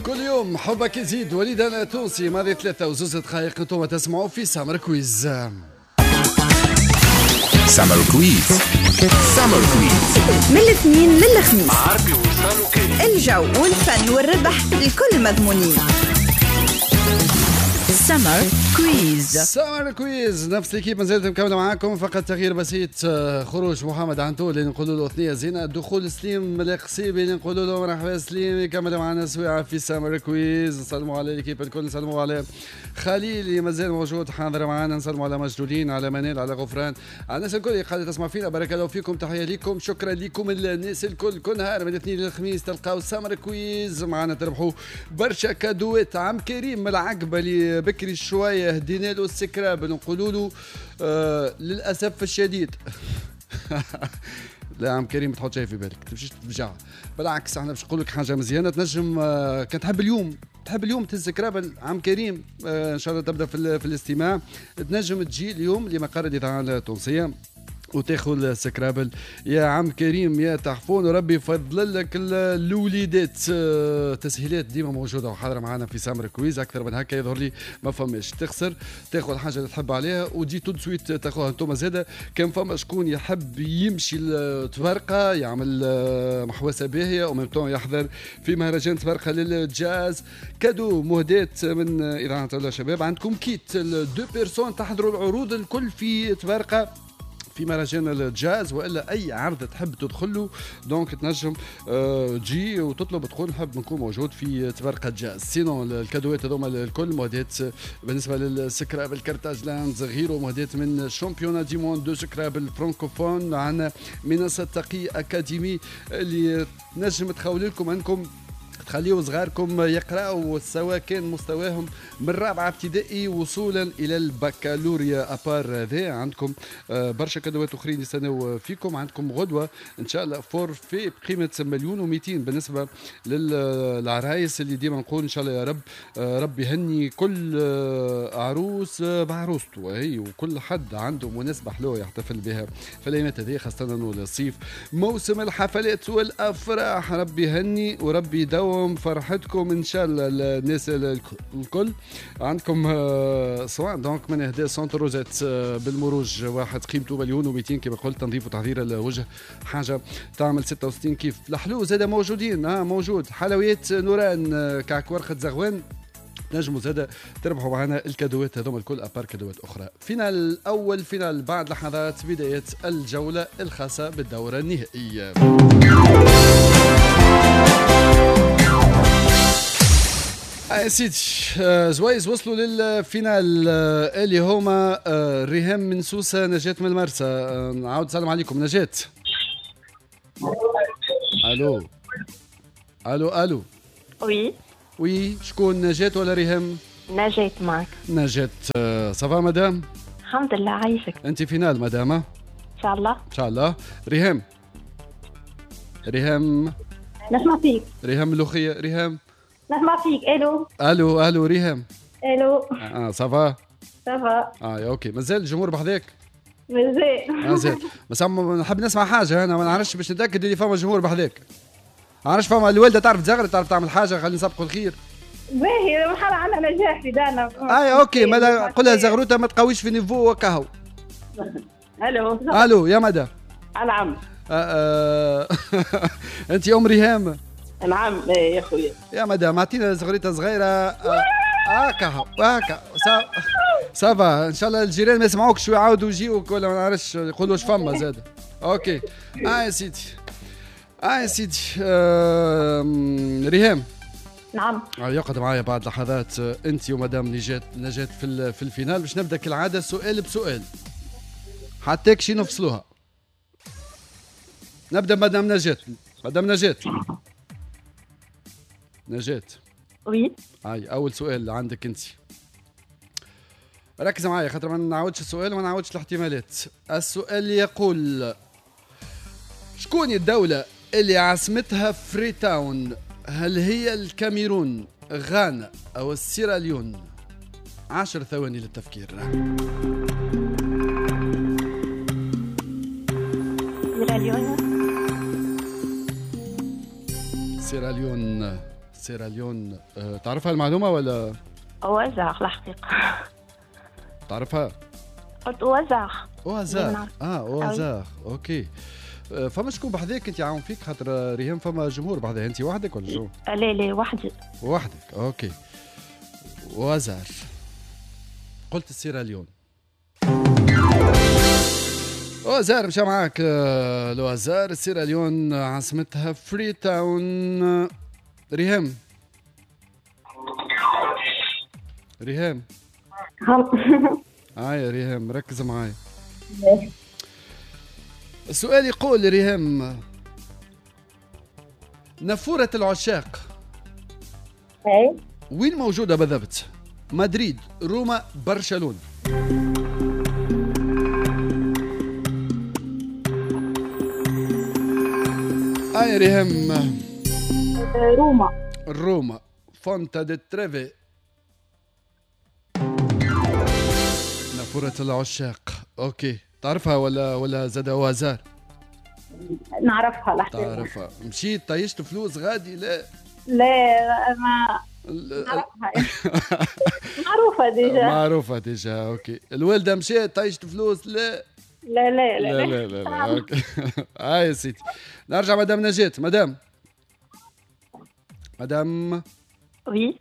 كل يوم حبك يزيد. وليد انا تونسي ماضي 3:02 انتم تسمعوا في Summer Quiz. Summer Quiz. Summer Quiz من الاثنين للخميس، الجو والفن والربح الكل مضمونين. Summer Quiz. Summer Quiz، نفس l'équipe مازالت مكملة معاكم، فقط تغيير بسيط، خروج محمد عنتو اللي نقولوا له ثنيه زينه، دخول سليم القصيبي اللي نقولوا له مرحبا سليم، يكمل معنا سويعه في Summer Quiz. نسلموا على l'équipe الكل، نسلموا على خليل اللي مازال موجود حاضر معنا، نسلموا على مجدولين، على منال، على غفران، على الناس الكل اللي قاعدة تسمع فينا. بارك الله فيكم، تحية لكم، شكرا لكم الناس الكل. كل نهار من الاثنين للخميس تلقاو Summer Quiz معنا، تربحوا برشا cadeau ات. عم كريم من العقبة اللي بكري شوية هدينا له ال Scrabble، نقولوا له للاسف الشديد لا عم كريم ما تحط شيء في بالك، تمشيش تفجع، بالعكس احنا باش نقول لك حاجة مزيانه. تنجم كان تحب اليوم، تحب اليوم تهز Scrabble عم كريم، ان شاء الله تبدا في الاستماع. تنجم تجي اليوم لمقر الاذاعة التونسية وتاخذ Scrabble يا عم كريم يا تحفون، وربي يفضل لك الوليدات. تسهيلات ديما موجودة وحاضره معنا في Summer Quiz، اكثر من هكا يظهر لي ما فماش. تخسر تاخذ الحاجة اللي تحب عليها وتجي tout de suite تاخذها. انتم زاده كان فما شكون يحب يمشي لتبرقه يعمل محوسه باهيه و même temps يحضر في مهرجان تبرقه للجاز، cadeau مهدات من اذاعة الشباب. عندكم kit deux personnes تحضروا العروض الكل في تبرقه في مهرجان الجاز والا اي عرض تحب تدخله، donc تنجم تجي وتطلب تقول نحب نكون موجود في تبرقه جاز. sinon ال cadeau ات هذوما الكل مهدات بالنسبة لل Scrabble Carthage Lands، غيره مهدات من championnat du monde de Scrabble francophone. عندنا منصة تقي اكاديمي اللي تنجم تخول لكم انكم تخليوا صغاركم يقراوا سواء كان مستواهم من رابعه ابتدائي وصولا الى البكالوريا. à part هذا عندكم برشا cadeau ات اخرين يستناو فيكم. عندكم غدوه ان شاء الله forfait بقيمة 1,2 مليون بالنسبة للعرايس اللي ديما نقول ان شاء الله يا رب، ربي يهني كل عروس بعروسته هي وكل حد عنده مناسبة حلوة يحتفل بها في الايامات هذه، خاصة انه الصيف موسم الحفلات والافراح. ربي يهني وربي يدوم فرحتكم ان شاء الله الناس الكل. عندكم soins donc من اهداء centre روزات بالمروج، واحد قيمته 1,2 مليون كما قلت، تنظيف وتحضير الوجه حاجة تعمل 66 كيف. الحلو زاد موجودين، موجود حلويات نوران، كعك ورقة زغوان، نجموا زاد تربحوا معنا ال cadeau ات هذوما الكل à part cadeau ات اخرى. finale اول finale بعد لحظات، بداية الجولة الخاصة بالدوره النهائية. يا سيدي زويز وصلوا لل finale، اللي هما ريهام من سوسة، نجاة من المرسى. نعاود السلام عليكم نجاة. الو الو الو. oui. oui، شكون نجاة ولا ريهام؟ نجاة معك. نجاة، ça va madame؟ الحمد لله عايشك. انت finale madame؟ ان شاء الله. ان شاء الله. ريهام، ريهام. نسمع فيك. ريهام ملوخية، ريهام. نسمع فيك. الو. الو الو ريهام. الو. Ça va؟ ça va. OK، مازال الجمهور بحذاك؟ مازال. مازال، بس نحب نسمع حاجة انا ما نعرفش باش نتاكد اللي فما جمهور بحذاك. عارف فما الوالدة تعرف تزغر، تعرف تعمل حاجة، خلينا نسبقوا الخير. باهي مرحلة عندنا نجاح في دارنا. OK، ما قولها زغروته ما تقويش في niveau وكهو. الو. الو يا مدام. نعم. انت ام ريهام؟ نعم يا خويا. يا مدام اعطينا زغريته صغيرة. هكا هكا ça va، ان شاء الله الجيران ما يسمعوكش ويعاودوا يجيوك ولا ما نعرفش يقولوا واش فما زاد. OK يا سيدي، يا سيدي. ريهام. نعم. يقعد معايا بعد لحظات انت ومدام نجاة، نجاة في ال finale. باش نبدا كالعادة سؤال بسؤال حتى شي نفصلوها. نبدا مدام نجاة. مدام نجاة، نجاة. oui. هاي اول سؤال عندك انت، ركز معايا خاطر ما نعاودش السؤال وما نعاودش الاحتمالات. السؤال يقول شكون الدولة اللي عاصمتها فريتاون؟ هل هي الكاميرون، غانا أو السيراليون؟ 10 ثواني للتفكير. سيراليون. سيراليون، سيراليون. تعرفها المعلومة ولا؟ au hasard الحقيقة. تعرفها؟ قلت au hasard. au hasard، au hasard، OK. فما شكون بحذاك انت عاون فيك؟ خاطر ريهام فما جمهور بحذاك، انت وحدك ولا شو؟ لا لا وحدي. وحدك، OK. au hasard قلت السيراليون. au hasard مشى معاك le hasard. السيراليون عاصمتها فري تاون. ريهام، ريهام هاي ريهام ركز معايا. السؤال يقول ريهام، نافورة العشاق وين موجودة بالضبط؟ مدريد، روما، برشلونة. هاي ريهام. روما. روما، فونتا دي تريفي، نافورة العشاق. OK، تعرفها ولا زاد au hasard؟ نعرفها الحقيقة. تعرفها. مشيت طيشت فلوس غادي؟ لا لا ما نعرفها. معروفة déjà. معروفة déjà، OK. الوالدة مشات طيشت فلوس؟ لا لا لا لا لا لا لا، OK. هاي يا سيدي، نرجع مدام نجاة. مدام، مدام oui،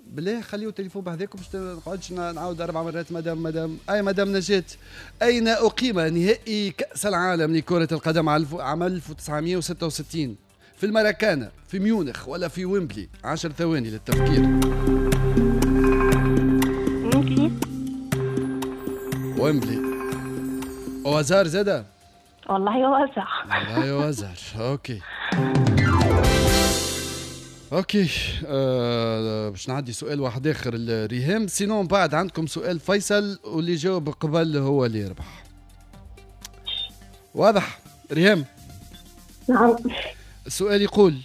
بالله خليو التليفون بحذاكم باش نقعدش نعاود 4 مرات. مدام، مدام، اي مدام نجاة، اين اقيم نهائي كأس العالم لكرة القدم عام 1966؟ في الماراكانا، في ميونخ، ولا في ويمبلي؟ 10 ثواني للتفكير. ويمبلي. ويمبلي au hasard زادا؟ والله au hasard. والله au hasard، OK OK. باش نعدي سؤال واحد اخر لريهام، sinon بعد عندكم سؤال فيصل واللي جاوب قبل هو اللي يربح. واضح ريهام؟ نعم. السؤال يقول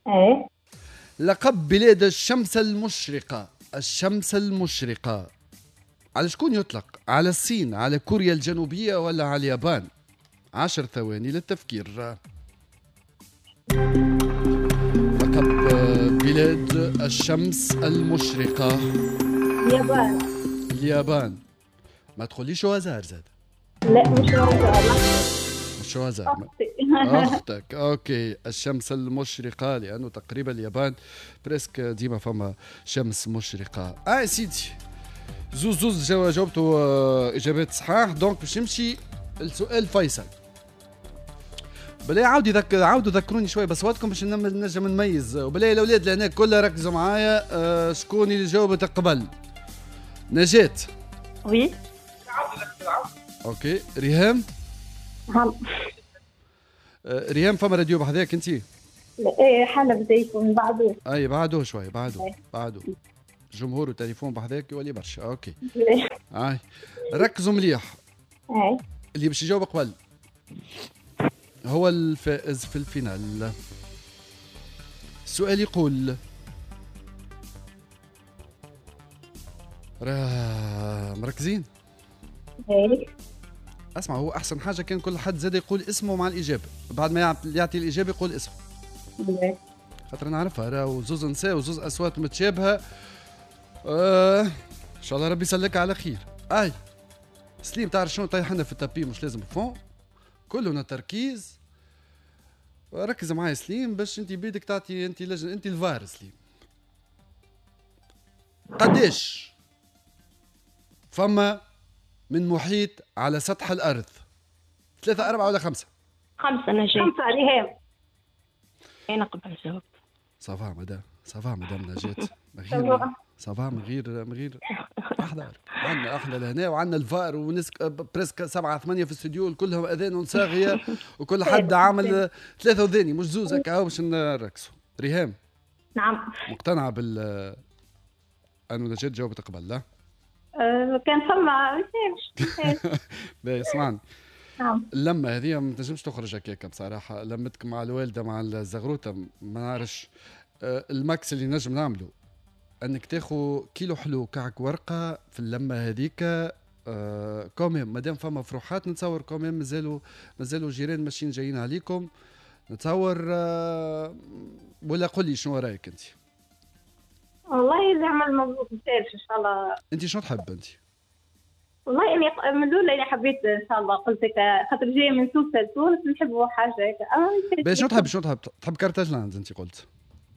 ايه، لقب بلاد الشمس المشرقة، الشمس المشرقة على شكون يطلق؟ على الصين، على كوريا الجنوبية، ولا على اليابان؟ 10 ثواني للتفكير. لقب بلاد الشمس المشرقة. اليابان. اليابان. ما تقوليش au hasard زاد. لا مش au hasard. مش au hasard. أختك. OK، الشمس المشرقة لأنه تقريبا اليابان presque ديما فما شمس مشرقة. سيدي، زوز زوز جاوبتوا إجابات صحاح، donc باش نمشي السؤال فيصل. بلاي عاودوا ذكروني شوي بصواتكم باش نجم نميز. وبلاي الاولاد لهنا كلها ركزوا معايا. شكون اللي جاوبت قبل؟ نجاة. oui. OK. ريهام. نعم. ريهام فما راديو بحذاك انت؟ لا ايه حالة بدايته من بعده. اي بعده شوي، بعده بعده. جمهور وتليفون بحذاك يولي برشا. OK. اي ركزوا مليح. اي اللي باش يجاوب قبل هو الفائز في ال finale. السؤال يقول، مركزين؟ ايه. اسمع، هو احسن حاجة كان كل حد زاد يقول اسمه مع الاجابة، بعد ما يعطي الاجابة يقول اسمه. خاطر نعرفها راهو زوز نساء وزوز اصوات متشابهة. ان شاء الله ربي يسلك على خير. اي سليم، تعرف شنو طيحنا في ال tapis، مش لازم fond، كلنا تركيز. ركز معايا سليم باش انت بيدك تعطي، انت لجنة، انت الفار سليم. قداش فما من محيط على سطح الارض؟ 3 4 ولا 5؟ 5 نجاة. 5 ريهام. انا قبل جاوبت. ça va madame، ça va madame نجاة، من غير ça va، من غير احضر. عندنا احنا لهنا وعندنا الفار وناس presque 7 8 في الاستوديو كلهم اذان صاغيه وكل حد عامل 3 وذاني مش زوز هكا باش نركزوا. ريهام. نعم. مقتنعة بال انه نجاة جاوبت قبل؟ لا كان فما باهي اسمعني. نعم. اللمة هذه ما تنجمش تخرج هكاك بصراحة، لمتك مع الوالدة مع الزغروته ما نعرفش. ال max اللي نجم نعمله انك تاخو كيلو حلو كعك ورقة في اللمة هذيك. quand même مادام فما فروحات نتصور quand même مازالوا جيران ماشيين جايين عليكم نتصور. ولا قول لي شنو رايك انت؟ والله زعما المبروك ان شاء الله. انت شنو تحب انت؟ والله اني من الاول انا حبيت ان شاء الله، قلت لك خاطر جاية من سوسة لتونس نحبوا حاجة هكا. شنو تحب؟ شنو تحب؟ تحب كارتاجلاند انت قلت؟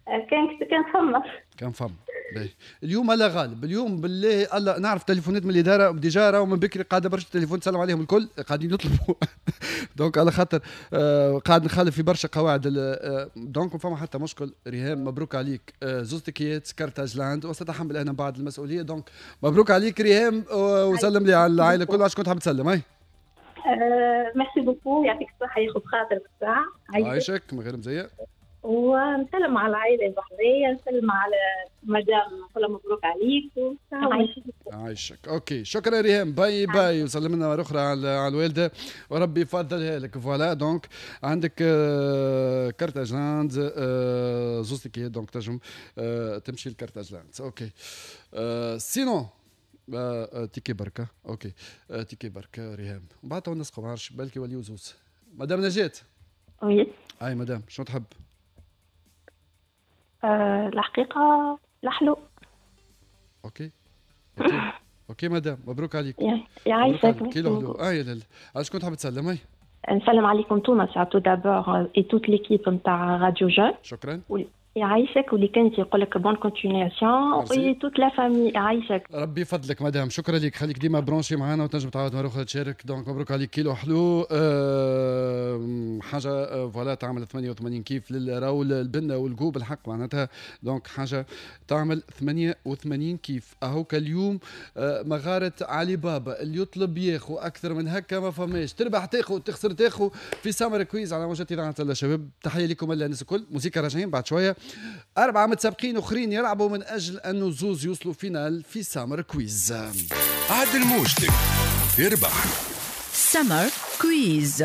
كان فما كان فما. باهي اليوم لا غالب، اليوم بالله الله نعرف تليفونات من الادارة déjà راهو من بكري قاعدة برشا تليفون تسلم عليهم الكل قاعدين يطلبوا donc على خاطر قاعد نخالف في برشا قواعد، donc ما فما حتى مشكل. ريهام مبروك عليك زوز تيكيات كارتاجلاند وستحمل انا بعد المسؤولية، donc مبروك عليك ريهام وسلم لي على العائلة الكل. عشان كنت حاب تسلم؟ هاي merci beaucoup، يعطيك الصحة ياخذ خاطرك الساعة. عايشك من غير مزية. ونسلم على العائلة البحرية، نسلم على مدام، نقول مبروك عليك. عايشك. OK شكرا ريهام، bye bye، وسلم لنا مرة اخرى على الوالدة وربي يفضلها لك. voilà donc عندك كارتاجلاند زوز تيكيات، donc تنجم تمشي لكارتاجلاند. OK sinon ticket بركة. OK ticket بركة ريهام، ومن بعد نسقوا ما عرفش بالك يوليو زوز. مدام نجاة. oui اي مدام شنو تحب؟ الحقيقة الحلو. OK OK OK madame مبروك عليك. يعيشك. كيلو حلو. يا لالا علاش كنت حاب تسلم؟ هاي نسلم عليكم توما tout d'abord et toute l'équipe نتاع راديو جون. شكرا. يعيشك، واللي كانت يقول لك bonne continuation et toute la famille. يعيشك ربي يفضلك مدام، شكرا لك، خليك ديما branchée معنا وتنجم تعاود مرة اخرى تشارك. donc مبروك عليك كيلو حلو، حاجة voilà تعمل 88 كيف للراول البنه والجو بالحق معناتها، donc حاجة تعمل 88 كيف. اهوك اليوم مغارة علي بابا، اللي يطلب ياخو اكثر من هكا ما فماش، تربح تاخو تخسر تاخو في Summer Quiz على موجات اذاعة الشباب. تحية لكم الناس الكل، موسيقى راجعين بعد شوية. 4 متسابقين اخرين يلعبوا من اجل انه زوز يوصلوا finale في Summer Quiz. عدل موجتك تربح Summer Quiz.